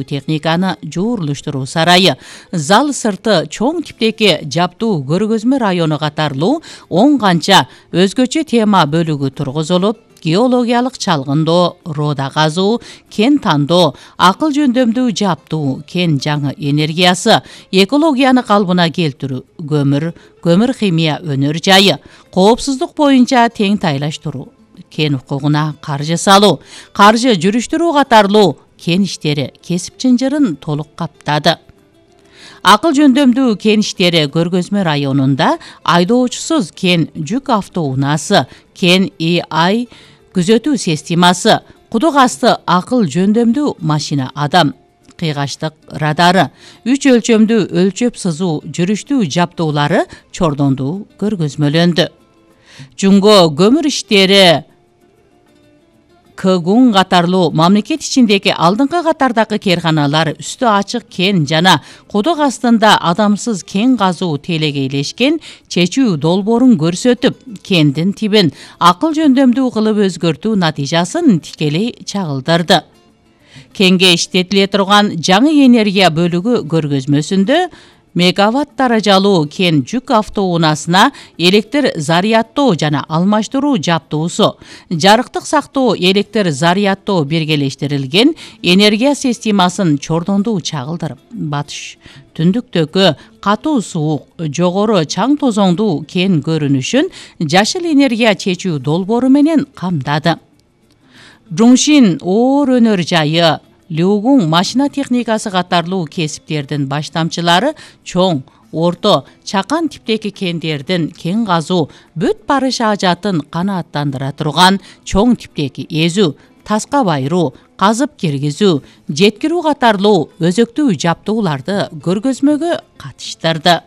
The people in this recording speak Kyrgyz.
техниканы жуурлуштуруу сарайы, зал сырты чоң типтеги жаптуу көргөзмө району катарлуу 10 канча өзгөчө тема бөлүгү тургузулуп, геологиялык чалгындоо, рода казуу, кен тандоо, акыл жөндөмдүү жаптуу, кен жаңы энергиясы, экологияны калыбына келтирүү, көмүр химия өнөр жайы, коопсуздук боюнча тең тайлаштыруу, кен укугуна каржы салуу, каржы жүрүштүрүү катарлуу кен иштери кесип чынжырын толук каптады. Акыл жөндөмдүү кен иштери көргөзмө районунда айдоочусуз кен жүк автоунаасы, кен AI күзөтүү системасы, кудук асты акыл жөндөмдүү машина адам, кыйгаштык радары, 3 өлчөмдүү өлчөп сызуу жүрүштүү жаптуулары чордондуу көргөзмөлөндү. Жунго көмүр иштери Кгун катарлуу мамлекет ичиндеги алдыңкы катардагы керканалар үстү ачык кен жана кудук астында адамсыз кен казуу телегейлешкен чечүү долбоорун көрсөтүп, кендин тибин акыл жөндөмдүү кылып өзгөртүү натыйжасын тикелей чагылдырды. Кенге иштетиле турган жаңы энергия бөлүгү көргөзмөсүндө мегаватт даражалуу кен жүк автоунаасына электр зарядтоо жана алмаштыруу жаптуусу, жарыктык сактоо электр зарядтоо биргелештирилген энергия системасын чордондуу чагылдырып, батыш түндүктөгү катуу суук, жогору чаң тозоңдуу кен көрүнүшүн жашыл энергия чечүү долбоору менен камдады. Жуншин оор өнөр жайы, Люгун машина техникасы катарлуу кесиптердин баштамчылары чоң, орто, чакан типтеги кендердин кен казуу, бүт барыш ажатын канааттандыра турган чоң типтеги эзүү, таска байыруу, казып киргизүү, жеткирүү катарлуу өзөктүү жаптууларды көргөзмөгө катыштырды.